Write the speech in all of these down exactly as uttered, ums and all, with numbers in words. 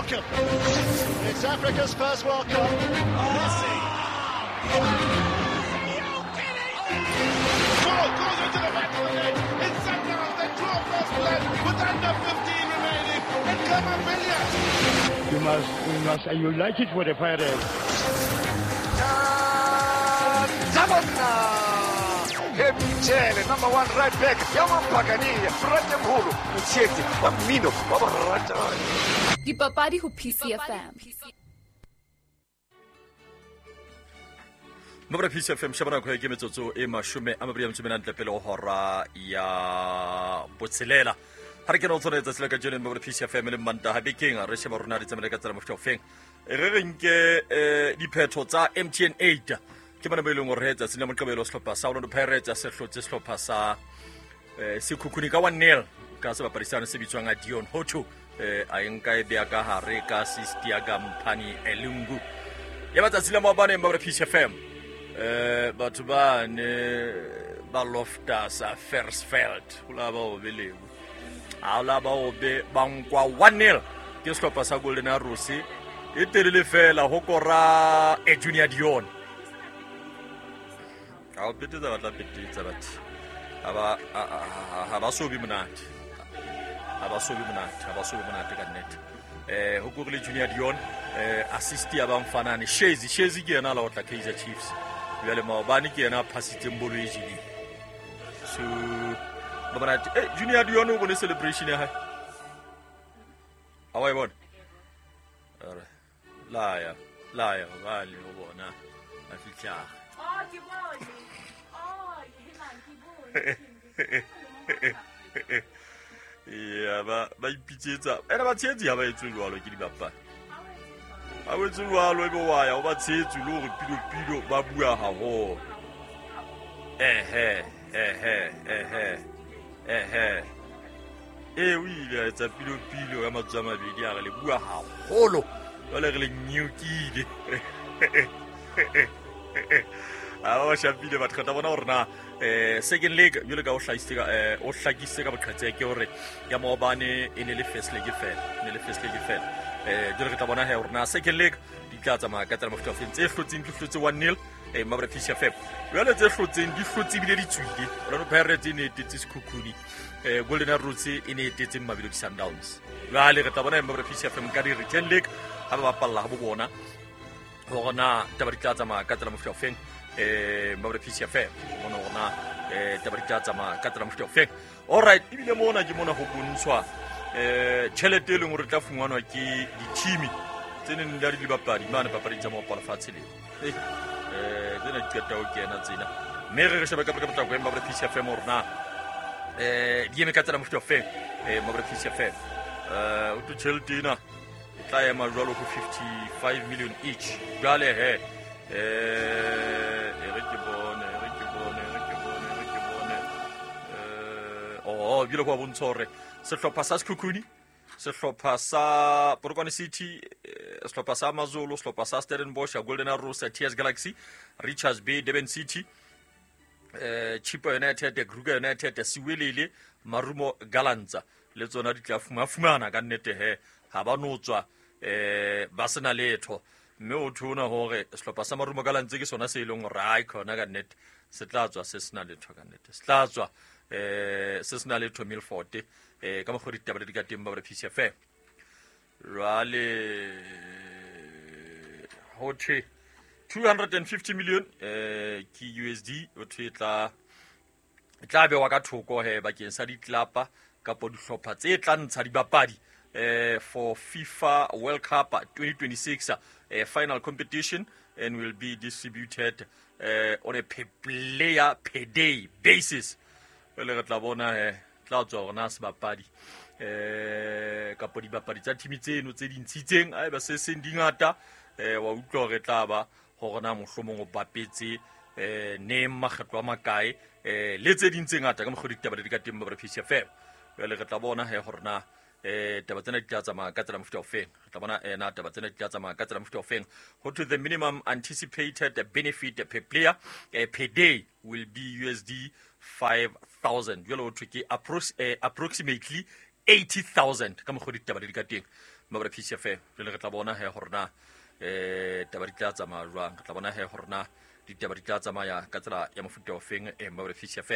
welcome. It's Africa's first World Cup. Messi. Goal goes into the back of the net. It's Sundowns that draw first blood with under fifteen remaining. And Khama Billiat. You must, you must, and you like it with the Pirates. Mchele, number one right back, Yamampagani, Fratemholo, Mchete, Wamino, Wabarata. Dipapadi ho P C F M. Mabra P C F M shabana ko ke metsotso e mashome a mabedi a metso e menantle pele ho hora ya botshelela. Ha re kena ho tsona letsatsi la kajeno Mabra P C F M le Mantaha bekeng re sheba rona di tsamaile ka tsela mofuta ofeng. Re re nke diphetho tsa M T N eight. Ke bana ba ileng hore tsatsing la Moqebelo sehlopha sa Orlando Pirates se hlotse sehlopha sa eh Sekhukhune ka one nil ka sebapadi sane se bitswang a Dion Hotto eh a nka e bea ka hare ka assist ya Gamphani Elungu. Ya batsatsi la maobane Mabra P C F M eh batho ba ne ba lofta sa Fersfeld ho la ba o belebu. Ha la ba o be ba nkwa one nil ke sehlopha sa Golden Arrows e telele fela ho kora e Junior Dion. A petetsa batla petetsa batho. Ha ba ha ba so be monate. Ha ba so be monate, ha ba so be monate ka nnete. Eh ho korile Junior Dion eh assist ya ba mfanane Shezi, Shezi ke yena la otla Kaizer Chiefs. Jwale maobane ke yena a phasitseng bolo e jele. So ba monate. Eh Junior Dion o bone celebration ya hae. A wa e bona? Ore la ya, la ya ba le o bona. A fihla. Oh, ke bone. Oh, helang ke bone. Yeah, ba ba ipitsetsa. Ene ba tshetsi ha ba etswe jwalo ke dibapadi. Ha o etswe jwalo ebe wa ya o ba tshetsi le hore pilo pilo ba bua haholo. Ehe, ehe, ehe. Ehe. E o ile a etsa pilo pilo ka matsatsi a mabedi a re le bua haholo. Jwale re le nyokile. A o shapile batho ka bona hore na eh second leg jwale ka o hlahisitse ka eh o hlakisitse ka boqhetseke ke hore ya maobane e ne le first leg fela ne le first leg fela eh jwale re tla bona he hore na second leg di tla tsamaya ka tsela mofuta ofeng. Tse hlotseng di hlotse one nil eh Mabra P C F M jwale tse hlotseng di hlotse ebile di tswile. Orlando Pirates e ne etetse Sekhukhune, eh Golden Arrows e ne etetse Mamelodi Sundowns. Jwale re tla bona Mabra P C F M ka di return leg ha ba bapalla ha bo bona hore na taba di tla tsamaya ka tsela mofuta ofeng. Eh Mabra P C F M mona hore eh taba di tla tsamaya ka tsela mofuta ofeng. All right, ebile mona ke mona ho bontshwa eh tjhelete e leng hore tla fumanwa ke di-team tse neng di le dibapadi mane papading tsa maopo lefatshe leo. Eh eh tsena di qeta ho kena tsena mme re re shebe ka potlako ya Mabra P C F M hore na eh di eme ka tsela mofuta ofeng. Eh Mabra P C F M eh o tjhelete ena e tla ema jwalo ho fifty-five million each. Jwale he eh e re ke bone re ke bone re ke bone re ke bone eh oh bile go bontsha hore sehlopha sa Sekhukhune, sehlopha sa Polokwane City, sehlopha sa AmaZulu, sehlopha sa Stellenbosch, Golden Arrows, T S Galaxy, Richards Bay, Durban City, eh Chippa United, Kruger United, Siwelele, Marumo Gallants le tsona di tla fuma fumana ka nnete he ha ba no tswa eh ba sena letho. Mme o thona hore sehlopha sa Marumo Gallants ke sona se ileng hore ai khona ka nnete se tla tswa se sena letho ka nnete se tla tswa eh se sena letho Milford eh ka mokgwa ditaba di ka teng ba P C F M. Jwale ho thwe two hundred fifty million eh ke U S D o thwe tla tla bewa ka thoko he bakeng sa ditlapa kapa dihlopha tse tla ntsha dibapadi eh for FIFA World Cup twenty twenty-six uh, final competition and will be distributed uh, on a per player per day basis. Jwale re tla bona he tla tswa hore na sebapadi eh kapa dibapadi tsa team tseno tse dintshitseng haeba se seng di ngata eh wa utlwa hore tla ba hore na mohlomong o bapetse eh neng makgetlo a makae eh le tse ding tse ngata ka mokgwa ditaba di ka teng ba P C F M. Jwale re tla bona he hore na eh taba tsena di tla tsamaya ka tsela mofuta ofeng. Re tla bona ena taba tsena di tla tsamaya ka tsela mofuta ofeng. Ho to the minimum anticipated benefit per player eh, per day will be U S D five thousand. Jwale ho thwe ke approx, eh, approximately eighty thousand ka mokgwa ditaba di ka teng mabra P C F jwale re tla bona he hore na eh taba di tla tsamaya jwang, re tla bona he hore na ditaba di tla tsamaya ka tsela ya mofuta o feng eh mabra P C F.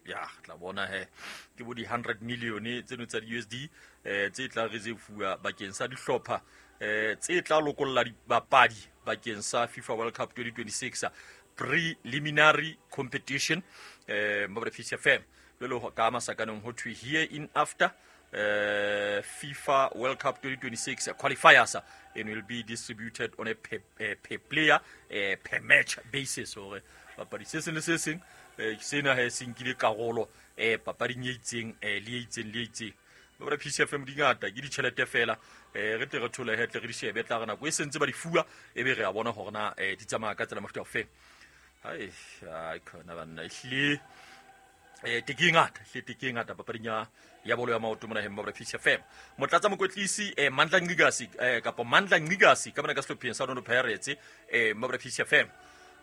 Ya tla bona he ke bo di hundred million tseno tsa di U S D eh tse tla reserve bakeng sa dihlopha eh tse tla lokolla dibapadi bakeng sa FIFA World Cup twenty twenty-six preliminary competition eh mabra P C F. Jwale ka masakaneng ho thwe here in after Uh, FIFA World Cup twenty twenty-six qualifiers and will be distributed on a per, uh, per player uh, per match basis. Hore papadi se seng le se seng sena he se nkile karolo eh papading e itseng le e itseng le e itseng. Ba P C F M di ngata ke ditjhelete fela eh re tle re thole he tle re di shebe tla re nako e sentse ba di fuwa e be re a bona hore na di tsamaya ka tsela mofuta o feng. Hai ai khona banna ehlile eh teke ngata hle teke ngata papading ya ya bolo ya maoto mona hemma ba P C F M. Motlatsa mokwetlisi eh Mandla Ncikazi eh kapa Mandla Ncikazi ka mona ka sehlopheng sa Orlando Pirates eh mabra P C F M.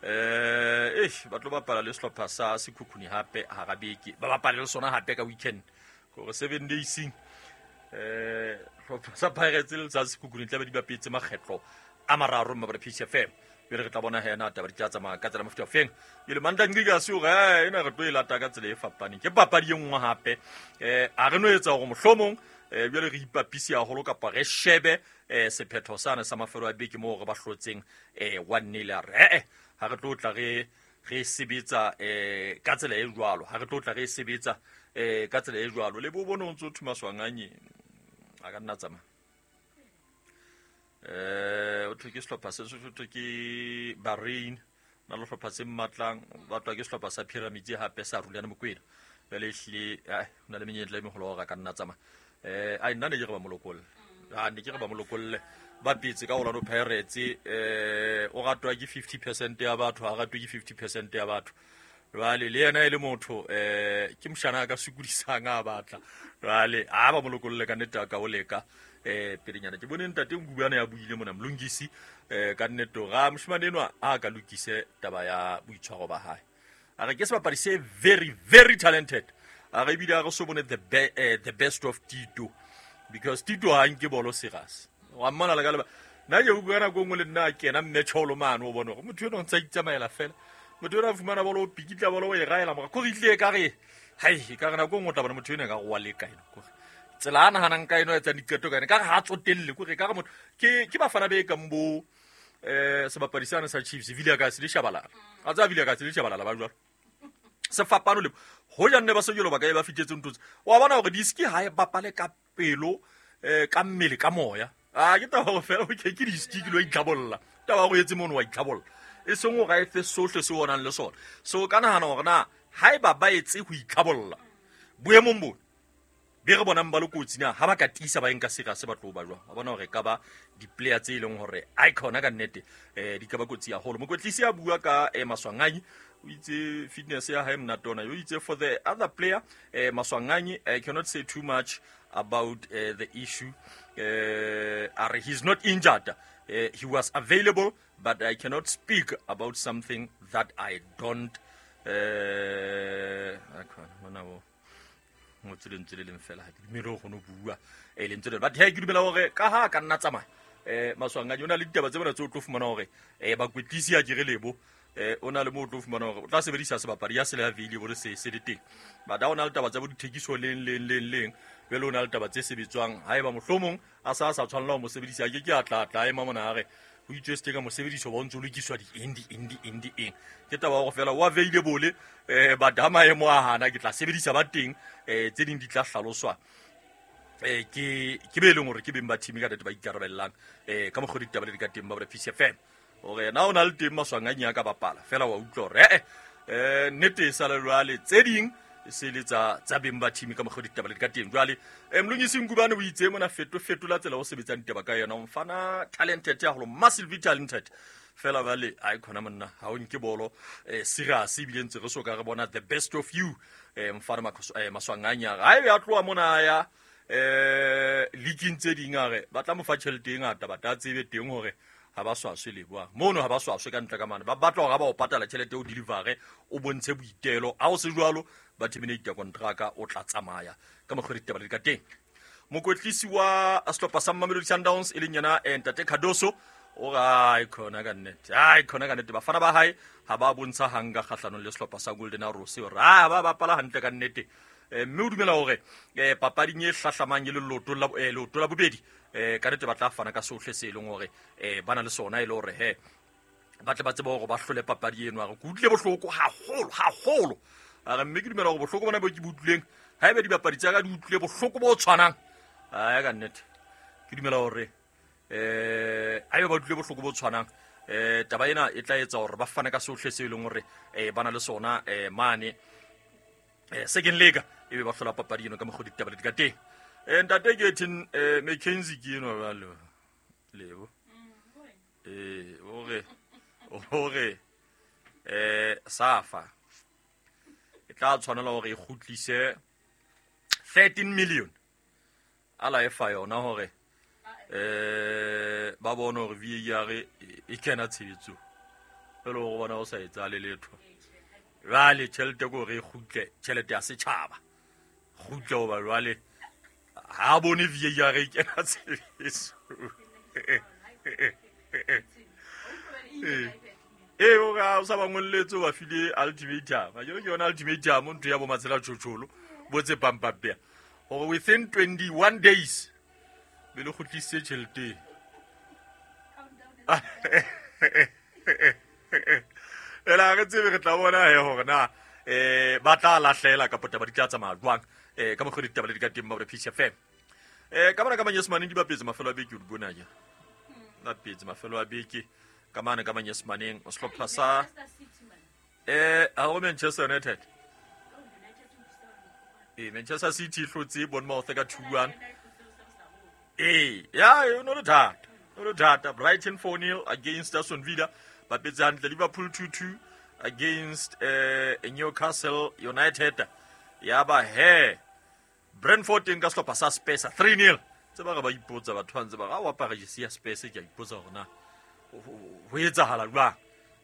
Eh eh ba tlo bapala le sehlopha sa Sekhukhune hape hara beke, ba bapala le sona hape ka weekend gore seven days eh sehlopha sa Pirates le sa Sekhukhune tla ba di bapetse makgetlo a mararo mabra P C F M. Jwale re tla bona he na taba di tla tsamaya ka tsela mofuta o feng. Jwale Mandla Ncikazi o re ena re tlo e lata ka tsela e fapaneng, ke papadi e nngwe hape eh a re no etsa hore mohlomong eh jwale re ipapise haholo kapa re shebe eh sephetho sane sa mafelo a beke moo re ba hlotseng eh one nil. A re eh ha re tlo tla re re sebetsa eh ka tsela e jwalo, ha re tlo tla re sebetsa eh ka tsela e jwalo. Le bo bone o ntso thuma Swanganye a ka nna tsamaya eh o thwe ke sehlopha se se thwe ke Bahrain na le sehlopha se mmatlang ba tlwa ke sehlopha sa Pyramids hape sa Rulani Mokwena. Jwale ehlile ai ho na le menyetla e meholo hore a ka nna tsamaya eh ai nna ne ke re ba mo lokolle, a ne ke re ba mo lokolle ba petse ka Orlando Pirates eh o ratwa ke fifty percent ya batho, ha ratwe ke fifty percent ya batho. Jwale le yena e le motho eh ke moshana ka sokodisang a batla jwale a ba mo lokolle ka nnete ka o leka eh pelenyana. Ke bone ntate Ngubane ya buile mona Mlungisi eh ka nnete ga moshimane enwa a ka lokise taba ya boitshwaro ba hae. A re ke sebapadi se very very talented, a re ebile a re so bone the be, eh, the best of Tito because Tito ha nke bolo serious. Wa mmona le ka leba nna ke utlwa nako nngwe le nna kena mme tsholo mane o bone hore motho enwa o ntse a itsamaela fela, motho enwa a fumana bolo o pikitla bolo o e raela mora ko re itlile ka re hai ka re nako nngwe o tla bona motho enwa ka re wa leka ena kore tsela a nahanang ka eno etsang diqeto ka ena ka re ha tsotelle kore ka re motho ke ke bafana be kang bo eh sebapadi sane sa Chiefs Vilakazi le Shabalala a tsa Vilakazi le Shabalala ba jwalo sefapano le hoja nne ba sejolo ba ka e ba fitetse ntho tse wa bona hore diski ha e bapale ka pelo eh ka mmele ka moya a ke taba hore fela ke ke diski ke lo itlhabolla taba go etse mono wa itlhabolla e seng o ga e fe sohle se onang le sona. So ka nahana hore na ha eba ba etse ho itlhabolla boemong bo be re bonang ba le kotsi na ha ba ka tiisa ba enka sera se batlo ba jwang, wa bona hore ka ba di-player tse e leng hore icon ka nnete eh di ka ba kotsi haholo. Mokwetlisi a bua ka eh, Maswanganyi o itse fitness ya hae monate ona, o itse for the other player eh, Maswanganyi I cannot say too much about uh, the issue uh, are he's not injured, uh, he was available but I cannot speak about something that I don't eh mona bo ngotse lentswe le leng fela ha ke dumele ho kgone ho bua eh lentswe le but he ke dumela hore ka ha ka nna tsamaya eh Maswanganyi o na le ditaba tse bona tse o tlo fumana hore eh bakwetlisi a kere lebo eh o na le mo o tlo fumana hore o tla sebedisa sebapadi ya sele available se se le teng but ha o na le taba tsa bo dithekiso leng leng leng leng jwale o na le taba tse sebetswang ha eba mohlomong a sa sa tshwanela ho mo sebedisa ke ke a tla tla ema mona a re ho itswe ka mosebediso ba ntse o lokiswa di eng di eng di eng di eng ke taba hore fela o available eh but ha maemo a hana ke tla sebedisa ba teng eh tse ding di tla hlaloswa eh ke ke be leng hore ke beng ba team ka nnete ba ikarabellang eh ka mokgwa ditaba le di ka teng ba P C F M hore na o na le teng Maswanganyi a ka bapala fela wa utlwa hore eh eh nnete e sale jwale tse ding se le tsa tsa beng ba team ka mokgwa ditaba le di ka teng jwale eh Mlungisi Ngubane o itse mona feto fetola tsela o sebetsang ditaba ka yona mfana talented ya holo massively talented fela bale ai khona monna ha o nke bolo eh serious ebile ntse re so ka re bona the best of you eh mfana Maswanganyi ha e ya tloha mona ya eh leaking tse ding a re ba tla mo fa tjhelete e ngata ba tla tsebe teng hore ha ba swaswe le boa mono ha ba swaswe ka ntle ka mane ba batla hore ba o patala tjhelete o deliver o bontshe boitelo ha o se jwalo ba terminate contract o tla tsamaya ka mokgwa ditaba le ka teng. Mokwetlisi wa sehlopha sa Mamelodi Sundowns e leng yena Ntate Cardoso o re khona ka nnete. Ai khona ka nnete bafana ba hae ha ba bontsha hanga kgahlanong le sehlopha sa Golden Arrows hore ha ba bapala hantle ka nnete. Mme o dumela hore papading e hlahlamang e le leoto la leoto la bobedi ka nnete ba tla fana ka sohle se leng hore ba na le sona e le hore he ba tle ba tsebe hore ba hlole papadi eno. A re ke utlwile bohloko haholo haholo. A re mme ke dumela hore bohloko bona bo ke bo utlwileng haebe dibapadi tsa ka di utlwile bohloko bo tshwanang a ka nnete ke dumela hore eh haebe ba utlwile bohloko bo tshwanang eh taba ena e tla etsa hore ba fane ka sohle se leng hore ba na le sona mane second leg e be ba hlola papadi eno ka mokgwa ditaba di ka teng. Eh ntate ke tin McKenzie ke eno jwalo lebo eh hore hore eh Safa e tla tshwanela hore e kgutlise thirteen million ala e fa yona hore eh ba bone hore V A R e kena tshebetsong pele hore bona o sa etsa le letho. Jwale tjhelete ko re kgutle tjhelete ya setjhaba kgutle hoba jwale ha bone V A R e kena tshebetsong. Eh o ga o sa ba ngolletse ba file ultimatum. A ke yona ultimatum ntho ya bo Matshela Tjhotjholo bo tse pampapea hore within twenty-one days be le kgutlise tjhelete. Ela re tsebe re tla bona he hore na eh ba tla lahlela ka taba di tla tsamaya jwang eh ka mokgwa ditaba le di ka teng ba P C F M. Eh ka mona ka manyesemane di bapetse mafelo a beke o di bona ja. Bapetse mafelo a beke ka mane ka manyesemaneng o sehlopha sa eh ha o Manchester United. Eh Manchester City hlotse Bournemouth ka two one. Eh ya e no le thata. No le thata Brighton four nil against Aston Villa. Bapetse hantle Liverpool two two against eh Newcastle United. Ya ba he Brentford nka sehlopha sa Spurs three nil. Tse ba re ba ipotsa batho ba ntse ba ra wa apara jesi ya Spurs ke a ipotsa hore na ho etsahala jwang.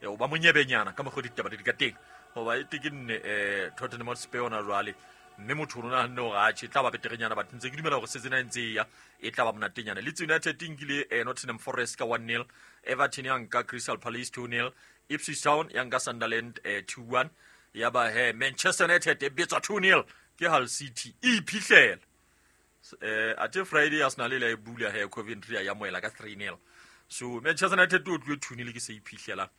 E o ba monyebenyana ka mokgwa ditaba di ka teng. Hoba e te ke nne eh Tottenham Hotspur ona jwale mme motho o nahanne hore atjhe e tla ba beterenyana but ntse ke dumela hore season e ntse e ya e tla ba monatenyana. Leeds United e nkile eh, Nottingham Forest ka one nil, Everton ya nka Crystal Palace two nil, Ipswich Town ya nka Sunderland eh, two one, ya ba he Manchester United e betswa two nil ke Hull City e iphihlele. Eh ate Friday Arsenal ile e bula he Coventry ya moela ka three nil. So Manchester United o tloe two nil ke se iphihlela.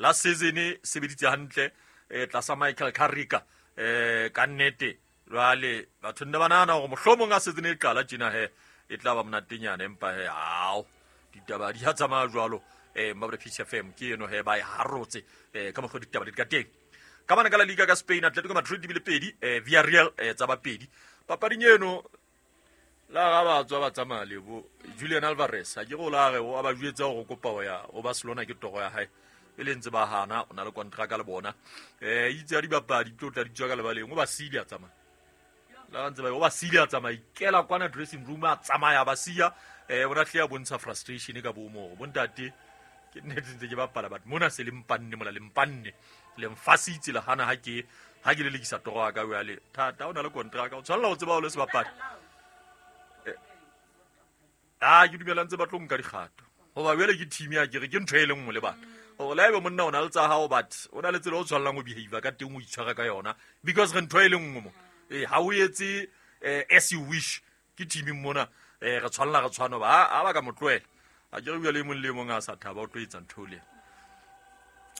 Last season e sebeditse hantle eh tlasa Michael Carrick eh ka nnete jwale batho nne ba nahana hore mohlomong a season e qala tjena he e tla ba monatenyana empa he ao ditaba di a tsamaya jwalo eh Mabra P C F M ke eno he ba e harotse eh ka mokgwa ditaba di ka teng. Ka bana ka la Liga ka Spain Atletico Madrid di bile pedi eh Villarreal eh tsa ba pedi. Papading eno la ga ba tswa ba tsamaya le bo Julian Alvarez a ke go la re o ba jwetsa hore kopa ho ya ho Barcelona ke toro ya hae e le ntse ba hana o na le contract le bona eh itse ya dibapadi tlo tla di tswa ka lebaleng o ba sile a tsamaya la ntse ba o ba sile a tsamaya ikela kwana dressing room a tsamaya ba siya eh bona tle ya bontsha frustration ka bo mo bontate ke nnete ntse ke bapala but mona se le mpanne mola le mpanne le mfasitse le hana ha ke ha ke le lekisa toro ya ka o ya le thata o na le contract o tshwanela ho tseba o le sebapadi ah ke dumela ntse ba tlo nka dikgato hoba jwale ke team ya ke re ke ntho e le nngwe le bana hore la ebe monna o na le tsa hao but o na le tsela o tshwanelang ho behavior ka teng o itshwara ka yona because re ntho e le nngwe mo eh ha o etse as you wish ke team mona eh re tshwanela re tshwana ba ha ba ka motlohela a ke re bua le mong le mong a sa thaba o tlo etsa ntho le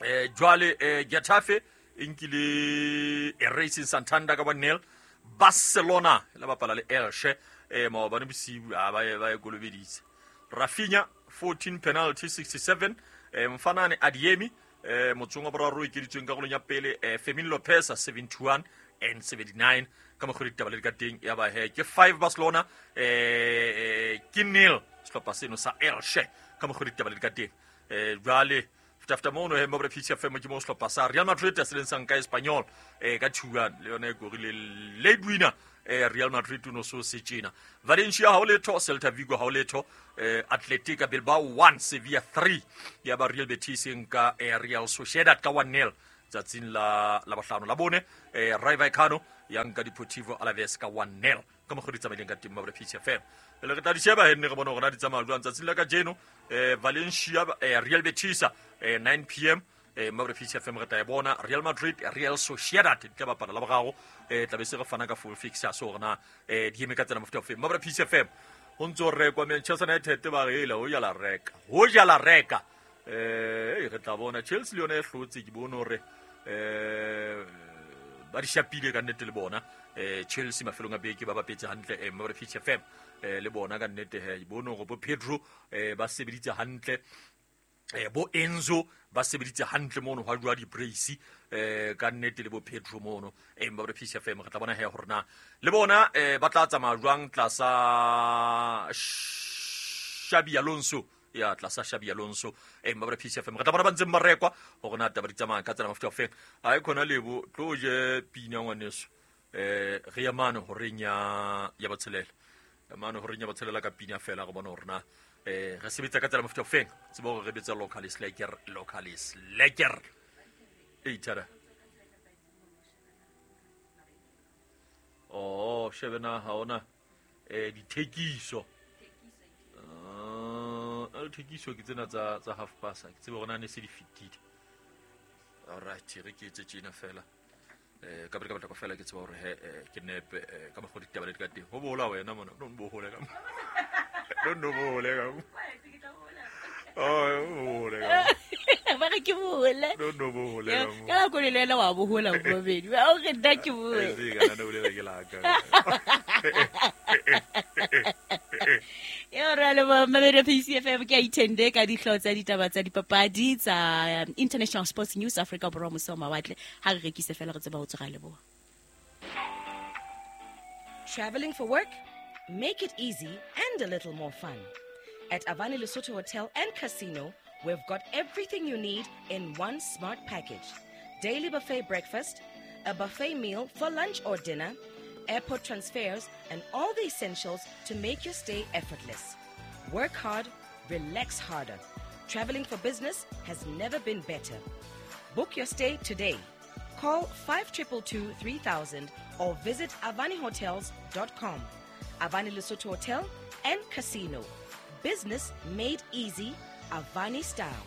eh jwale eh Getafe e nkile Racing Santander ka one nil. Barcelona la bapala le Elche eh maobane bosiu a ba ba e kolobeditse. Rafinha fourteen penalty sixty-seven eh Mfanane Adiemi eh motsong wa boraro e keditsweng karolong ya pele eh Fermin Lopez seventy-one and seventy-nine ka mokgwa ditaba le ka teng ya ba he ke five Barcelona eh ke nil sehlopha seno sa Elche ka mokgwa ditaba le ka teng eh jwale fitafta mono he mobra P C F M ke mo sehlopha sa Real Madrid se leng sang ka Espanyol eh ka two one le yona e korile late winner eh Real Madrid no so se tjena. Valencia ha o letho, Celta Vigo ha o letho, eh Athletic Bilbao one, Sevilla three, ya ba Real Betis nka eh, Real Sociedad ka one nil. tsatsing la la bohlano la bone eh Rayo Vallecano ya nka Deportivo Alaves ka one nil ka mokgwa di tsamaileng ka teng mabra P C F M le re tla di sheba he nne re bona hore na di tsamaya jwang tsatsing la kajeno eh Valencia eh Real Betis eh nine p m eh mabra P C F M re tla e bona Real Madrid Real Sociedad di tla bapala la boraro eh tla be se re fana ka full fixture so hore na eh di eme ka tsena mofuta ofe mabra P C F M ho ntso rekwa Manchester United ba re ela ho ya la reka ho ja la reka eh re tla bona Chelsea le yona e hlotse ke bone hore eh ba di shapile ka nnete le bona eh Chelsea mafelong a beke ba bapetse hantle eh mabra P C F M eh le bona ka nnete he bone hore bo Pedro eh ba sebeditse hantle eh bo Enzo ba sebeditse hantle mono hwa jwa di brace eh ka nnete le bo Pedro mono eh mabra P C F M re tla bona he hore na le bona eh ba tla tsamaya jwang tlasa Xabi Alonso ya tlasa Xabi Alonso eh mabra P C F M re tla bona ba ntseng ba rekwa hore na taba di tsamaya ka tsela mafuta ofeng ha e khona lebo tlo je pina ngwaneso eh re ya mane horeng ya ya botshelela mane horeng ya botshelela ka pina fela re bona hore na eh re sebetsa ka tsela mafuta ofeng tsebo hore re betsa local is lekker local is lekker e tara oh shebena ha ona eh dithekiso ah dithekiso ke tsena tsa tsa half past ke tsebe hore na ne se di fitile all right re ke etse tjena fela eh ka ka ka fela ke tseba hore he ke nepe ka mokgwa ditaba le di ka teng ho bola wena mona no bohole ka no no bohole ka oh bohole ka ba re ke bohole no no bohole ka ka nako le lena wa bohola bobedi ba o re nna ke bohole eh ka nna bolela ke la ka Yo re le mamedi P C F M ke a ithende ka dihlooho tsa ditaba tsa dipapadi tsa International Sports News Africa Borwa mose wa mawatle ha re rekise fela re tseba ho tswa leboha. Traveling for work? Make it easy and a little more fun. At Avani Lesotho Hotel and Casino, we've got everything you need in one smart package. Daily buffet breakfast, a buffet meal for lunch or dinner, airport transfers, and all the essentials to make your stay effortless. Work hard, relax harder. Traveling for business has never been better. Book your stay today. Call five two two two three thousand or visit avani hotels dot com. Avani Lesotho Hotel and Casino. Business made easy, Avani style.